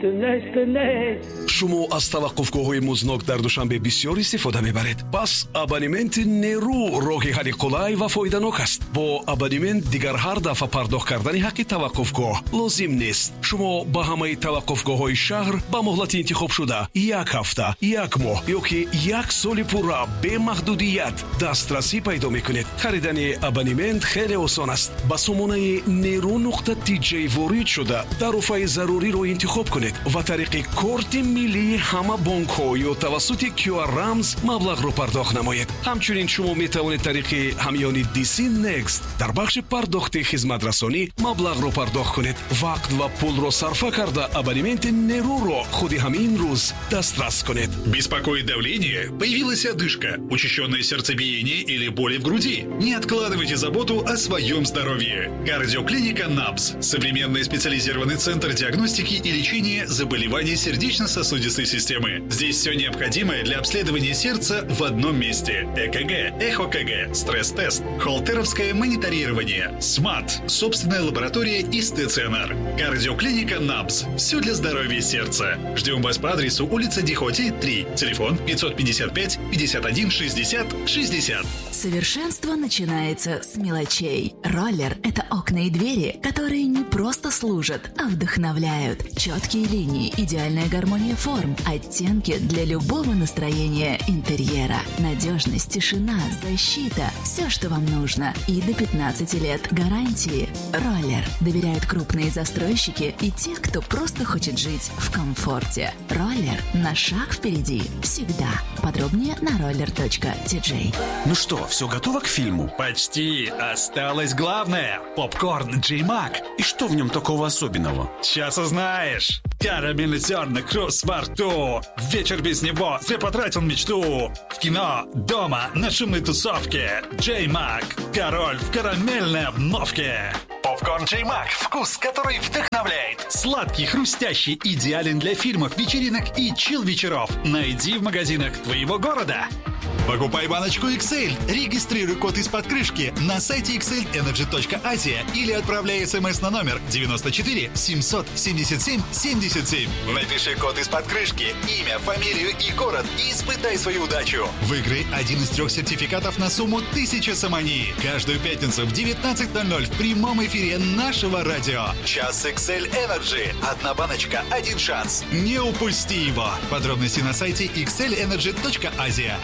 Нест, нест, нест. Шумо аз таваққуфгоҳҳои музднок дар Душанбе бисёр истифода мебаред. Пас абонементи Нерӯ роҳи ҳалли қулай ва фоиданок аст. Бо абонемент дигар ҳар дафъа пардохт кардани ҳаққи таваққуфгоҳ лозим нест. Шумо ба ҳамаи таваққуфгоҳҳои шаҳр ба муҳлати интихобшуда як ҳафта, як моҳ ё ки як соли пурра бемаҳдудият дастрасӣ пайдо мекунед. Харидани абонемент хеле осон аст. Ба сомонаи нерӯ.тj ворид шуда, тарофаи заруриро интихоб кунед ва тариқи корти миллии ҳама бонкҳо ё тавассути QR рамз маблағро пардохт намоед. Ҳамчунин шумо метавонед тариқи ҳамёни DC Next дар бахши пардохти хизматрасонӣ маблағро пардохт кунед. Вақт ва пулро сарфа карда, абонементи Нерӯро худи ҳамин рӯз дастрас кунед. Беспокоит давление? Появилась одышка, учащенное сердцебиение или боли в груди? Не откладывайте заботу о своем здоровье. Кардиоклиника НАБС. Современный специализированный центр диагностики и лечения заболеваний сердечно-сосудистой системы. Здесь все необходимое для обследования сердца в одном месте. ЭКГ, ЭхоКГ, стресс-тест, холтеровское мониторирование, СМАТ, собственная лаборатория и стационар. Кардиоклиника НАБС. Все для здоровья сердца. Ждем вас по адресу: улица Дихоти, 3. Телефон 555 51 60 60. Совершенство начинается с мелочей. Роллер – это окна и двери, которые не просто служат, а вдохновляют. Четкие линии, идеальная гармония форм, оттенки для любого настроения интерьера. Надежность, тишина, защита – все, что вам нужно. И до 15 лет гарантии. Роллер. Доверяют крупные застройщики и те, кто просто хочет жить в комфорте. Роллер на шаг впереди. Всегда. Подробнее на roller.tj. Ну что, все готово к фильму? Почти. Осталось главное. Попкорн Джей Мак. И что в нем такого особенного? Сейчас узнаешь. Карамельный зерна, хруст во рту. Вечер без него зря потратил мечту. В кино, дома, на шумной тусовке. Джей Мак. Король в карамельной обновке. Попкорн Джей Мак. Вкус, который вдохновляет. Сладкий, хрустящий, идеален для фильмов, вечеринок и чил-вечеров. Найди в магазинах твоего города. Покупай баночку XL, регистрируй код из-под крышки на сайте xlenergy.asia или отправляй смс на номер 94 777 77. Напиши код из-под крышки, имя, фамилию и город и испытай свою удачу. Выиграй один из трех сертификатов на сумму 1000 сомони. Каждую пятницу в 19:00 в прямом эфире нашего радио. Час XL Energy. Одна баночка, один шанс. Не упусти его. Подробности на сайте xlenergy.asia.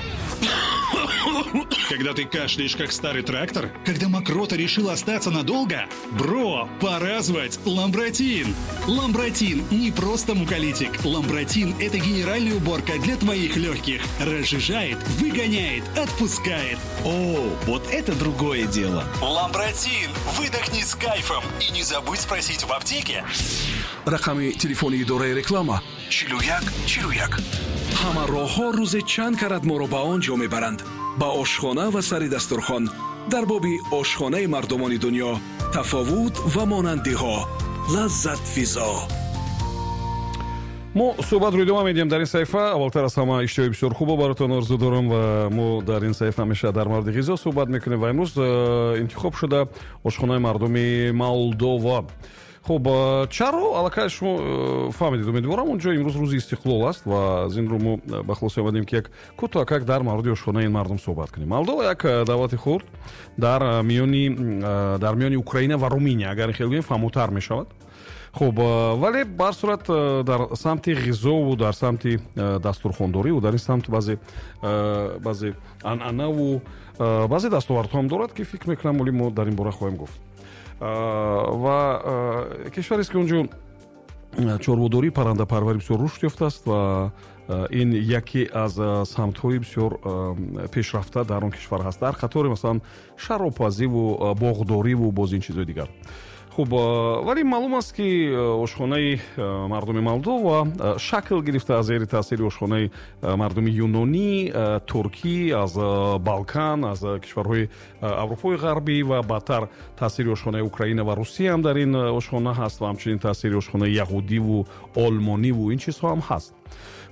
Когда ты кашляешь, как старый трактор? Когда мокрота решила остаться надолго? Бро, пора звать Ламбратин! Ламбратин не просто муколитик. Ламбратин – это генеральная уборка для твоих легких. Разжижает, выгоняет, отпускает. О, вот это другое дело. Ламбратин! Выдохни с кайфом и не забудь спросить в аптеке. Рақами телефони идораи реклама 41 41. Ҳама роҳҳо рӯзе чанд карат моро ба он ҷо мебаранд, ба ошхона ва сари дастурхон. Дар боби ошхонаи мардумони дунё, тафовут ва монандиҳо, лаззатфизо. Мо суҳбатро идома медиҳем дар ин саҳифа. Аввалтар аз ҳама, иштиҳои бисёр хубо баротон орзу дорам. Ва мо дар ин саҳифа ҳамеша дар мавриди ғизо суҳбат мекунем ва имрӯз интихоб шуда ошхонаи мардуми Молдова. Хуб, чаро, аллакай шумо фаҳмидед, умедворам. Он ҷо имрӯз рӯзи истиқлол аст ва аз ин рӯ мо ба хулоса омадем, ки як кӯтоҳакак дар мавриди ошхонаи ин мардум суҳбат кунем. Молдова як давлати хурд дар миёни Украина ва Руминия, агар хел гӯем, фаҳмотар мешавад. Хуб, вале ба ҳар сурат дар самти ғизову дар самти дастурхондориву дар ин самт баъзе анъанаву баъзе дастовардҳо ҳам дорад, ки фикр мекунам, оли мо дар ин бора хоҳем гуфт. Ва кишварест, ки он ҷо чорводорӣ, паррандапарварӣ бисёр рушд ёфтааст ва ин яке аз самтҳои бисёр пешрафта дар он кишвар ҳаст, дар қатори, масалан, шаробпазиву боғдориву боз ин чизҳои дигар. Хуб, вале маълум аст, ки ошхонаи мардуми Молдова шакл гирифта аз зери таъсири ошхонаи мардуми юнонӣ, туркӣ, аз Балкан, аз кишварҳои Аврупои Ғарбӣ ва баъдтар таъсири ошхонаи Украина ва Русия ҳам дар ин ошхона ҳаст ва ҳамчунин таъсири ошхонаи яҳудиву олмониву ин чизҳо ҳам ҳаст.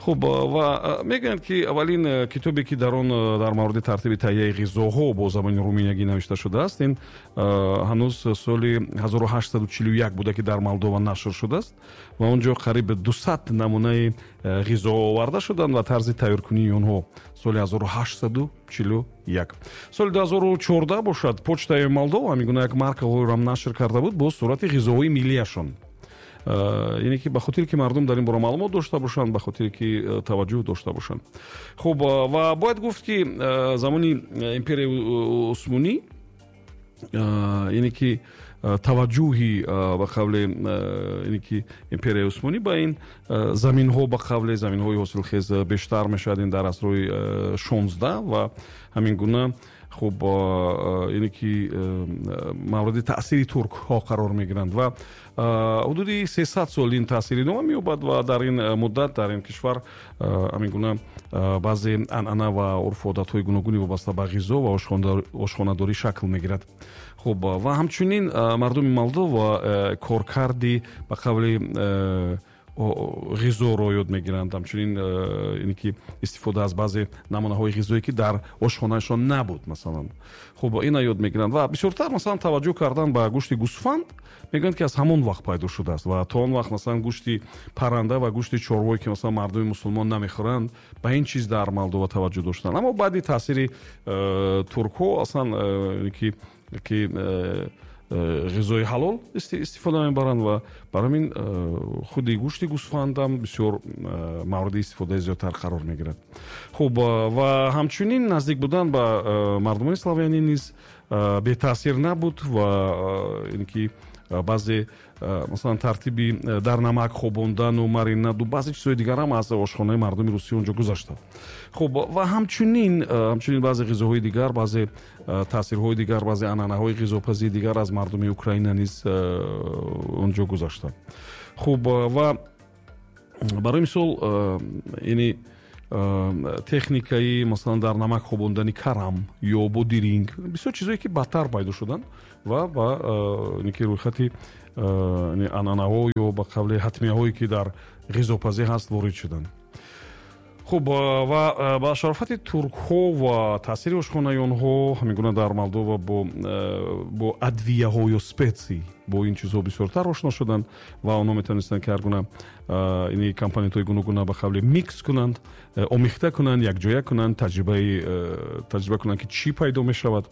Хуб, ва мегӯянд, ки аввалин китобе, ки дар он дар мавриди тартиби таҳияи ғизоҳо бо забони руминягӣ навишта шудааст, ин ҳанӯз соли 1841 буда, ки дар Молдова нашр шудааст ва он ҷо қариб 200 намунаи ғизо оварда шуданд ва тарзи тайёркунии онҳо соли 1841. Соли 2014 бошад, почтаи Молдова ҳамин гуна як маркаҳоеро нашр карда буд бо сурати ғизоҳои миллияшон, яъне ки ба хотире ки мардум дар ин бора маълумот дошта бошанд, ба хотире ки таваҷҷӯҳ дошта бошанд. Хуб, ва бояд гуфт, ки замони империяи Усмонӣ, яъне ки таваҷҷӯҳи, ба қавле, яъне ки империяи Усмонӣ ба ин заминҳо, ба қавле заминҳои ҳосилхез бештар мешавад, ин дар асрҳои 16 ва ҳамин гуна. Хуб, яъне ки мавриди таъсири туркҳо қарор мегиранд ва ҳудуди 300 сол ин таъсир идома меёбад ва дар ин муддат дар ин кишвар ҳамин гуна баъзе анъана ва урфу одатҳои гуногуни вобаста ба ғизо ва ошхонадорӣ шакл мегирад. Хуб, ва ҳамчунин мардуми Молдова коркарди, ба қавли, ғизоро ёд мегиранд, ҳамчунин ине ки истифода аз баъзе намунаҳои ғизое, ки дар ошхонаашон набуд, масалан. Хуб, ина ёд мегиранд ва бисёртар, масалан, таваҷҷӯҳ кардан ба гӯшти гӯсфанд мегӯянд, ки аз ҳамон вақт пайдо шудааст ва то он вақт, масалан, гӯшти парранда ва гӯшти чорвое, ки, масалан, мардуми мусулмон намехӯранд, ба ин чиз дар Молдова таваҷҷӯҳ доштанд. Аммо баъди таъсири туркҳо аслан ки ғизои ҳалол истифода мебаранд ва барои ҳамин худи гӯшти гӯсфандам бисёр мавриди истифодаи зиёдтар қарор мегирад. Хуб, ва ҳамчунин наздик будан ба мардумони славянӣ низ бетаъсир набуд ва ин ки баъзе, масалан, тартиби дар намак хобондану маринаду баъзе чизҳои дигарам аз ошхонаи мардуми Русия онҷо гузашта. Хуб, ва ҳамчунин баъзе ғизоҳои дигар, баъзе таъсирҳои дигар, баъзе анъанаҳои ғизопазии дигар аз мардуми Украина низ онҷо гузашта. Хуб, ва барои мисол, яъне техникаи, масалан, дар намак хобондани карам ё бодиринг, бисёр чизое, ки баъдтар пайдо шуданд ва ба ки рӯйхати анъанаҳо ё, ба қавли, ҳатмияҳое, ки дар ғизопазӣ ҳаст, ворид шуданд. Хуб, ва ба шарофати туркҳо ва таъсири ошхонаи онҳо ҳамин гуна дар Молдова бо адвияҳо ё специй, бо ин чизҳо бисёртар ошно шуданд ва онҳо метавонистанд, ки ҳар гуна ини компонентҳои гуногуна, ба қавле, микс кунанд, омехта кунанд, якҷоя кунанд, таҷриба кунанд, ки чӣ пайдо мешавад.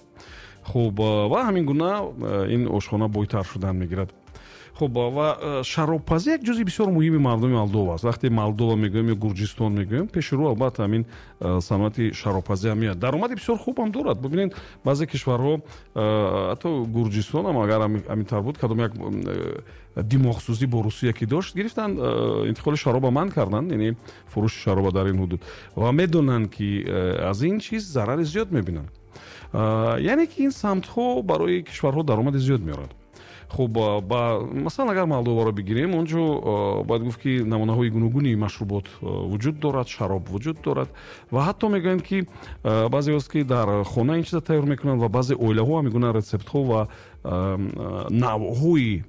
Хуб, ва ҳамин гуна ин ошхона бойтар шудан мегирад. Хуб, ва шаробпазӣ як ҷузъи бисёр муҳими мардуми Молдова аст. Вақте Молдова мегӯем ё Гурҷистон мегӯем, пеши рӯ албатта ҳамин саноати шаробпазӣ ҳам меояд. Даромади бисёр хуб ҳам дорад. Бибинед, баъзе кишварҳо, ҳатто Гурҷистон ҳам агар ҳамин тавр буд, кадом як димоғсӯзӣ бо Русия ки дошт, гирифтанд, интиқоли шароба манъ карданд, яъне фурӯши шароба дар ин ҳудуд, ва медонанд, ки аз ин чиз зарари зиёд мебинанд. Яъне ки ин самтҳо барои кишварҳо даромади зиёд меорад. Хуб, ба масалан, агар Молдоваро бигирем, он ҷо бояд гуфт, ки намунаҳои гуногуни машрубот вуҷуд дорад, шароб вуҷуд дорад ва ҳатто мегӯянд, ки баъзеҳост, ки дар хона ин чиза тайёр мекунанд ва баъзе оилаҳо ҳамин гуна рецептҳо ва навъҳои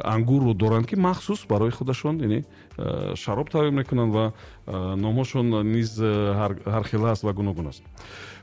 ангурро доранд, ки махсус барои худашон, яъне шароб тайёр мекунанд ва номҳошон низ ҳархела аст ва гуногун аст.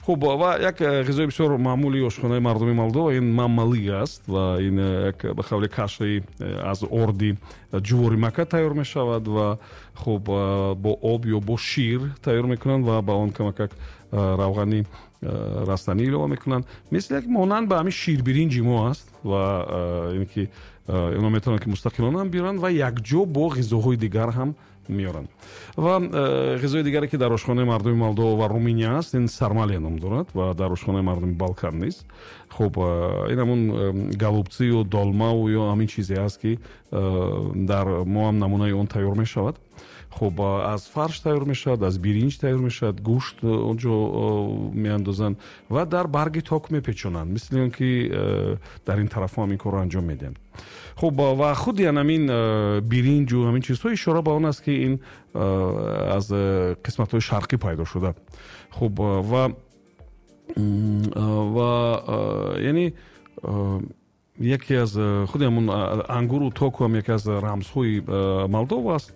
Хуб, ва як ғизои бисёр маъмули ошхонаи мардуми Молдова ин мамалига аст ва ин як, ба қавли, кашаи аз орди ҷуворимака тайёр мешавад ва хуб, бо об ё бо шир тайёр мекунанд ва ба он камакак равғани растанӣ илова мекунанд, мисли як монанд ба ҳамин ширбиринҷи мо аст ва ин ки инҳо метавонанд, ки мустақилона ҳам биёранд ва якҷо бо ғизоҳои дигар ҳам меоранд. Ва ғизои дигаре, ки дар ошхонаи мардуми Молдова ва Руминия аст, ин сармале ном дорад ва дар ошхонаи мардуми Балкан низ. Хуб, ин ҳамун голубцы ю долмау ё ҳамин чизе аст, ки дар мо ҳам намунаи он тайёр мешавад. Хуб, аз фарш тайёр мешавад, аз биринҷ тайёр мешавад, гӯшт онҷо меандозанд ва дар барги ток мепечонанд, мисли он ки дар ин тарафҳо ҳам ин корро анҷом медиҳанд. Хуб, ва худи ҳамин биринҷу ҳамин чизҳо ишора ба он аст, ки ин аз қисматҳои шарқӣ пайдо шуда. Хуб, ва яъне яке аз худи ҳамун ангуру току ҳам яке аз рамзҳои Молдова аст.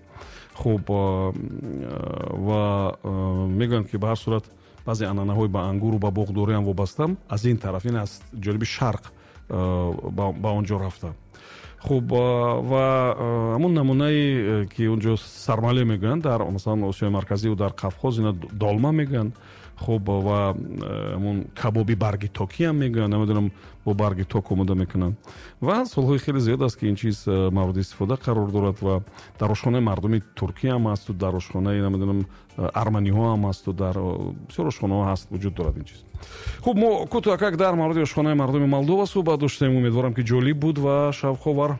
Хуб, ва мегӯянд, ки ба ҳар сурат баъзе анъанаҳои ба ангуру ба боғдориам вобаста аз ин тараф, ин аз ҷониби шарқ ба он ҷо рафта. Хуб, ва ҳамун намунае, ки он ҷо сармале мегӯянд, дар масалан Осиёи Марказиву дар Қавқоз ина долма мегӯянд. Хуб, ва ҳамун кабоби барги токӣ ҳам мегӯянд, намедонам, бо барги ток омода мекунанд. Ва солҳои хеле зиёд аст, ки ин чиз мавриди истифода қарор дорад ва дар ошхонаи мардуми туркӣ ҳам ҳасту дар ошхонаи, намедонам, арманиҳо ҳам ҳасту дар бисёр ошхонаҳо ҳаст, вуҷуд дорад ин чиз. Хуб, мо кӯтоҳакак дар мавриди ошхонаи мардуми Молдова суҳбат доштем. Умедворам, ки ҷолиб буд ва шавқовар.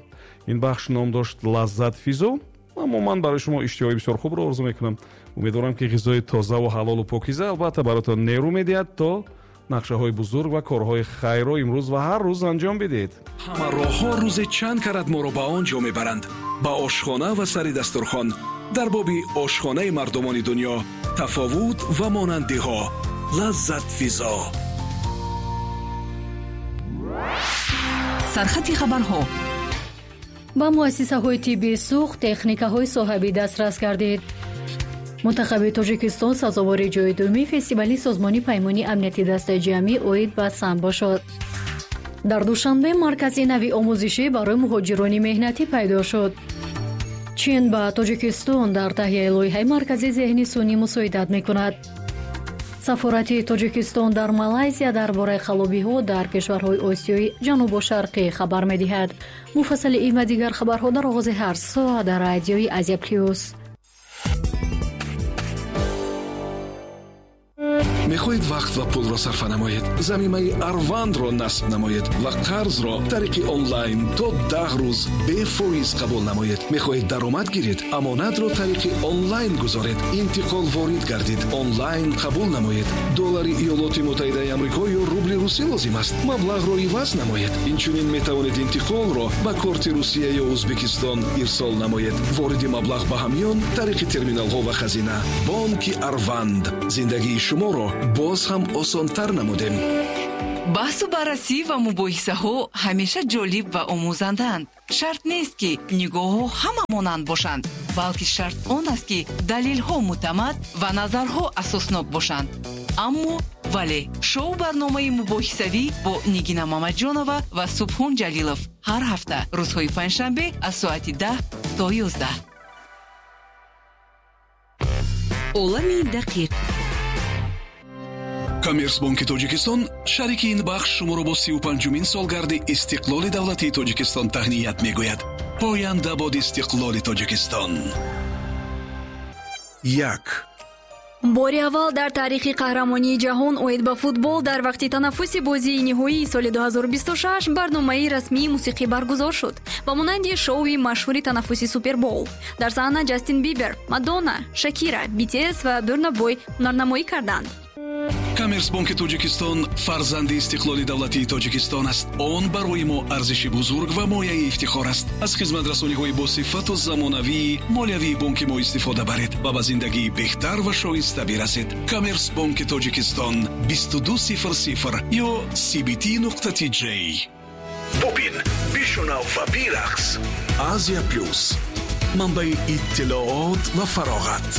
Ин бахш ном дошт «Лаззатфизо». Аммо ман барои шумо иштиҳои бисёр хубро орзу мекунам. Умедворам, ки ғизои тозаву ҳалолу покиза албатта баротон нерӯ медиҳад, то нақшаҳои бузург ва корҳои хайрро имрӯз ва ҳар рӯз анҷом бидиҳед. Ҳама роҳҳо рӯзе чанд карат моро ба он ҷо мебаранд, ба ошхона ва сари дастурхон. Дар боби ошхонаи мардумони дунё, тафовут ва монандиҳо. «Лаззатфизо». Сархати хабарҳо. Ба муассисаҳои тиббии Суғд техникаҳои соҳавӣ дастрас гардид. Мунтахаби Тоҷикистон сазовори ҷои дуюми фестивали Созмони Паймони Амнияти Дастаҷамъӣ оид ба самбо шуд. Дар Душанбе маркази нави омӯзишӣ барои муҳоҷирони меҳнатӣ пайдо шуд. Чин ба Тоҷикистон дар таҳияи лоиҳаи маркази зеҳни сунъӣ мусоидат мекунад. Сафорати Тоҷикистон дар Малайзия дар бораи қаллобиҳо дар кишварҳои Осиёи Ҷанубу Шарқӣ хабар медиҳад. Муфассали ин ва дигар хабарҳо дар оғози ҳар соат дар радиои Азия Плюс. Мехоҳед вақт ва пулро сарфа намоед? Замимаи Арвандро насб намоед ва қарзро тариқи онлайн то 10 рӯз бефоиз қабул намоед. Мехоҳед даромад гиред? Амонатро тариқи онлайн гузоред, интиқол ворид гардид, онлайн қабул намоед. Доллари Иёлоти Муттаҳидаи Амрико ё рубли русӣ лозим аст? Маблағро иваз намоед. Инчунин метавонед интиқолро ба корти Русия ё Ӯзбекистон ирсол намоед, вориди маблағ ба ҳамён тариқи терминалҳо ва хазина. Бонки Арванд: зиндагии шуморо боз ҳам осонтар намудем. Баҳсу баррасӣ ва мубоҳисаҳо ҳамеша ҷолиб ва омӯзандаанд. Шарт нест, ки нигоҳҳо ҳама монанд бошанд, балки шарт он аст, ки далелҳо мӯътамад ва назарҳо асоснок бошанд. Аммо вале шоу барномаи мубоҳисавӣ бо Нигина Мамаҷонова ва Субҳон Ҷалилов ҳар ҳафта рӯзҳои панҷшанбе аз соати 10 то 11. Олами дақиқ. Коммерсбонки Тоҷикистон, шарики ин бахш, шуморо бо 35-умин солгарди истиқлоли давлатии Тоҷикистон таҳният мегӯяд. Поянда бод истиқлоли Тоҷикистон! Як. Бори аввал дар таърихи қаҳрамонии ҷаҳон оид ба футбол дар вақти танаффуси бозии ниҳоии соли 2026 барномаи расмии мусиқӣ баргузор шуд, ба монанди шоуи машҳури танаффуси Супербол. Дар саҳна Ҷастин Бибер, Мадонна, Шакира, BTS ва Бурна Бой ҳунарнамоӣ карданд. Коммерсбонки Тоҷикистон фарзанди истиқлоли давлатии Тоҷикистон аст. Он барои мо арзиши бузург ва мояи ифтихор аст. Аз хизматрасониҳои босифату замонавии молиявии бонки мо истифода баред ва ба зиндагии беҳтар ва шоиста бирасед. Коммерсбонки Тоҷикистон, 2200 ё cbt нуқта tj. Бубин, бишунав ва бирақс. Азия Плюс, манбаи иттилоот ва фароғат.